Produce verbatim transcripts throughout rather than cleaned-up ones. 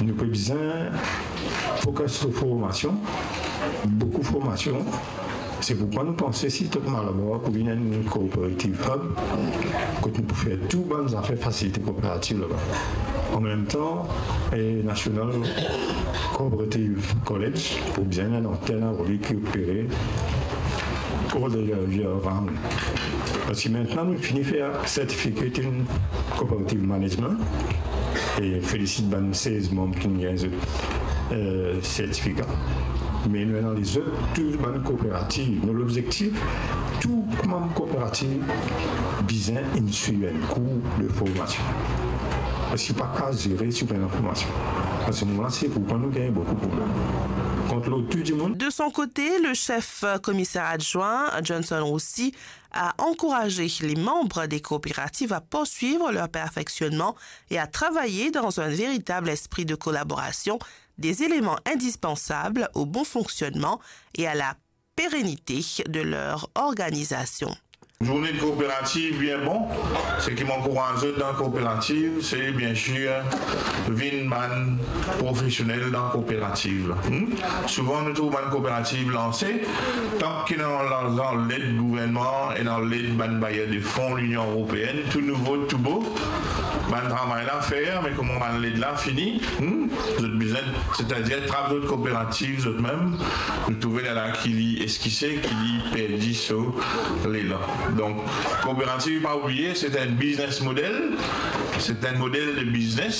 Nou pe bizin focus lor formasion, boukou formasion. Se poukwa nou panse Sitop Malabar pou vinn enn cooperative hub, kot nou pou fer tou bann zafer fasilite kooperativ laba. An mem tan, e National Cooperative College pou bizin enn antenn a Rodik ki opere all the year, year round. Parski mintnan nou fini fer Certificate in Cooperative Management, e felisit bann sez manm ki gagn zot, eh, sertifika. Me nou ena lezot, tou bann kooperativ. Nou lobzektif, tou manm kooperativ bizin inn swiv enn kour de formasion. Parski pa kapav zere si ou pena formasion. Parski moman la, se pou kan nou gagn boukou problem. Kont lor tou dimoun. De son côté, le chef commissaire adjoint, Johnson Roussy, a encouragé les membres des coopératives à poursuivre leur perfectionnement et à travailler dans un véritable esprit de collaboration, des éléments indispensables au bon fonctionnement et à la pérennité de leur organisation. Zourne kooperativ bien bon, seki mo ankouraz zot dan kooperativ, se biensir vinn bann profesionel dan kooperativ la. Hmm? Souvan nou trouv bann kooperativ lanse, tank ki ena larzan led gouvernman, ena led bann bayer de fon Linion Eropeenn, tou nouvo, tou bo, bann travay la fer, me kouma bann led la fini, hmm, zot bizin, setadir trap zot kooperativ zot mem, nou trouve la ki li eskise, ki li perdi so lelan. Donk, kooperativ, pa oubliye, se enn biznes model, se enn model de biznes,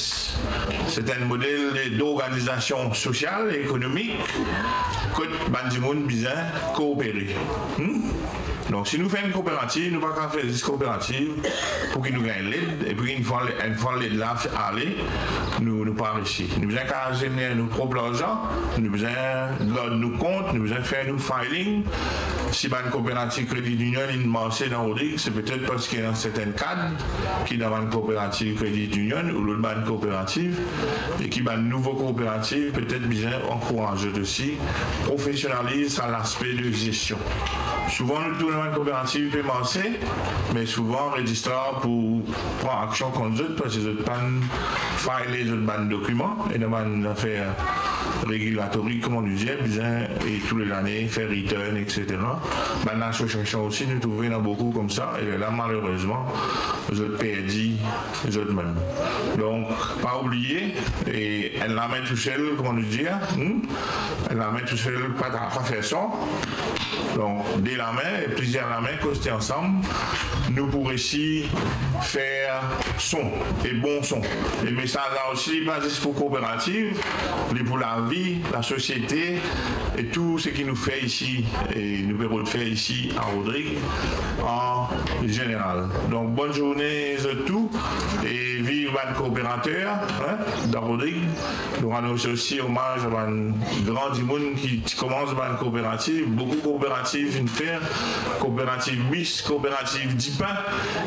se enn model de, d'organizasion sosial e ekonomik, kot bann dimoun bizin koopere. Hmm? Donk, si nou fer enn kooperativ, nou pa kapav fer zis kooperativ pou ki nou gagn led, epi enn fwa, enn fwa led la ale, nou, nou pa resi. Nou bizin kapav zener nou prop larzan, nou bizin gard nou kont, nou bizin fer nou filing. Si bann kooperativ Credit Union inn marse dan Rodrig, se petet parski ena sertin kad ki dan bann kooperativ Credit Union ou lot bann kooperativ, e ki bann nouvo kooperativ petet bizin ankouraz zot osi, profesionaliz sa laspe de zestion. Souvan nou trouv bann kooperativ pe marse, me souvan rezistrar pou pran aksion kont zot, parski zot pa'nn file zot bann dokiman, ena bann zafer regilatorik, kouma nou dir, bizin, e tou le lane, fer return, et cetera. Bann asosiasion osi, nou trouve ena boukou koumsa, e la, malerezman, zot perdi zot mem. Donk, pa oubliye, e enn lame tousel, kouma nou dir, hmm? Enn lame tousel, pa, pa fer son. Donk, de lame, e plizier lame, koste ansam, nou pou resi fer son, e bon son. E mesaz la osi, pa zis pou kooperativ, li pou lavi, lasosiete, e tou seki nou fer isi, e nou pe rod fer isi a Rodrig, an zeneral. Donk, bonn zourne zot tou, e viv bann kooperater, hein, dan Rodrig. Nou anons osi omaz a bann gran dimoun ki ti koumans bann kooperativ, boukou kooperativ finn fer, kooperativ bis, kooperativ dipin,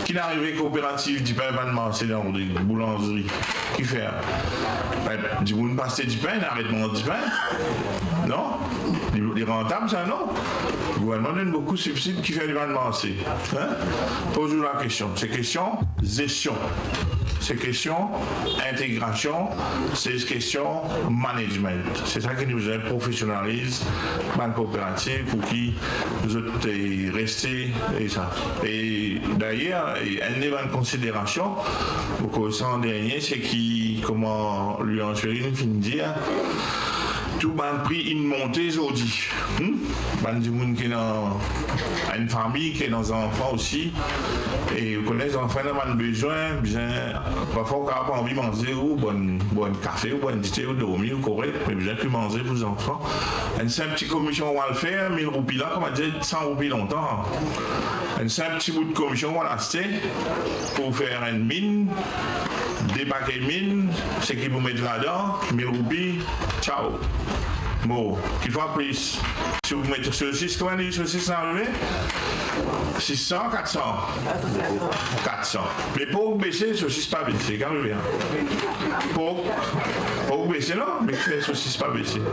ki arive kooperativ dipin pa'nn marse dan Rodrig, boulanzri. Kifer? Be, dimoun pa aste dipin, aret manz dipin. Non? Li, li rantab sa, non? Gouvernman donn boukou sibsid, kifer li pa'nn marse? Hein? Poz ou lakestion. Se kestion zestion. Se kestion integrasion, se kestion management. Se sa ki nou bizin profesionaliz bann kooperativ pou ki zot, eh, reste, e sa. E dayer, e enn de bann konsiderasion, mo koz sa an dernie, se ki, kouma Louis-Ange Perrine finn dir, tou bann pri inn monte zordi. Hmm? Bann dimoun ki ena enn fami, ki ena zanfan osi, e ou kone zanfan ena bann bezwin, bizin, parfwa ou kapav pa anvi manze, ou bwar enn kafe, ou bwar enn dite, ou dormi, ou korek, me bizin ki manze pou zanfan. Enn sinp ti komision ou al fer, mil roupi la, kouma dir, san roupi lontan. Enn sinp ti bout komision ou al aste pou fer enn min, de pake min, seki pou met ladan, mil roupi, tchao. Bon, kikfwa plis. Si ou met sosis, kouma li sosis la arive? Sis san, kat san? Kat san. Me pork bese, sosis pa bese, kan ou vinn. Pork, pork bese non, me fer sosis pa bese.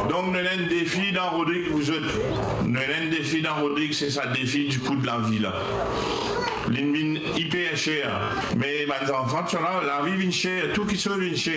Donk, nou ena enn defi dan Rodrig pou zot. Nou ena enn defi dan Rodrig, se sa defi di kou de lavi la. Li vinn iper ser. Me bann zanfan, tou sa la, lavi vinn ser, tou kiksoz vinn ser.